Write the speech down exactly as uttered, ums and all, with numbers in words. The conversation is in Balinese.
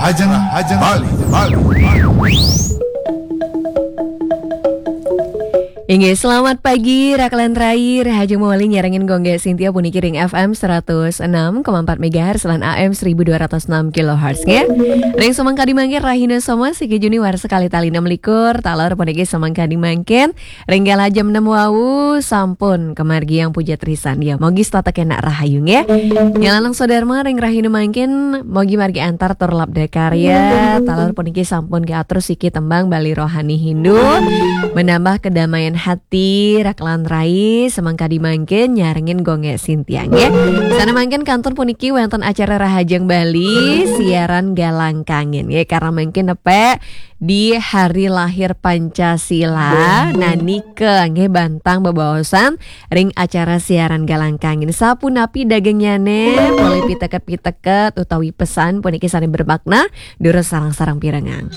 Rahajeng, Rahajeng Bali, Bali. Inggih, selamat pagi, Rakelan Rai, Rahajeng Mawali nyarengin Gung Gé Sintia puniki ring F M seratus enam koma empat megahertz lan A M seribu dua ratus enam kilohertz, nggih. Ring samangkadi mangkin rahina Soma, siki Juni warsa kalih tali enam likur, taler puniki samangkadi mangkin, ring galah jam enam wau, sampun kamargiang puja trisandia. Mogi setata kenak rahayu, nggih. Nyalanang sodarma ring rahina mangkin, mogi margi antar tur labda karya, taler puniki sampun katur siki tembang Bali Rohani Hindu, menambah kedamaian hati, Rakelan Rai, samangkadi mangkin nyarengin Gung Gé Sintia, nggih. Sana mangkin kantun puniki wénten acara Rahajeng Bali, siaran Galang Kangen, nggih. Karena mangkin nepek di hari lahir Pancasila, nah nika nggih bantang bebaosan ring acara siaran Galang Kangen. Sapunapi dagengnyané, polih piteket-piteket utawi pesan puniki sané bermakna, durus sareng-sareng pirengang.